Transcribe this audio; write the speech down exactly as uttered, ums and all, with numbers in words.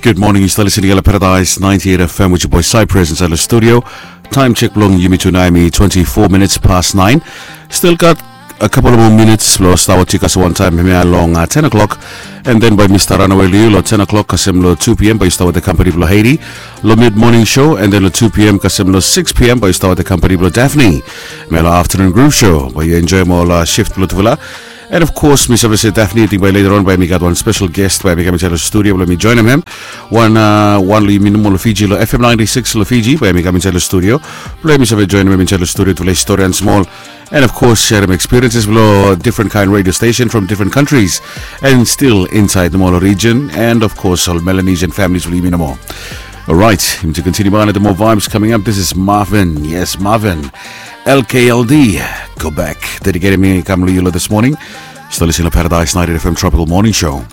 Good morning, yu stap listening lo Paradise ninety-eight F M with your boy Cypress inside the studio. Time check blong yumi tu nao hemi twenty-four minutes past nine. Still got a couple of more minutes blo stap wetem yu kasem wan taem hemia long uh, ten o'clock. And then bae mi stap ranawe lo yu lo ten o'clock kasem lo two p.m. bae yu stap wetem kampani blo Haiti lo mid morning show, and then lo two p.m. kasem lo six p.m. bae yu stap wetem kampani blo Daphne. Hemia lo afternoon groove show bae yu enjoem ol uh, shift blo tufala. And of course mi save se Daphne, ating bae later on bae mi gat wan special guest bae mi kam insait lo studio blo mi joenem hem. Wan uh, wan lo yumi nomo lo Fiji lo F M ninety-six lo Fiji bae mi kam insait lo studio blo mi save joenem hem insait lo studio tufala i stori han smol. And of course serem experiences blo different kind radio station from different countries and still insait nomo lo region, and of course ol Melanesian families blo yumi nomo. Alright, yumi tu continue bae gat moa vibes coming up. This is Marvin. Yes, Marvin. L K L D. Go back. Dedicated mi kam lo yu lo this morning. Stap listening lo Paradise ninety-eight F M Tropical Morning Show.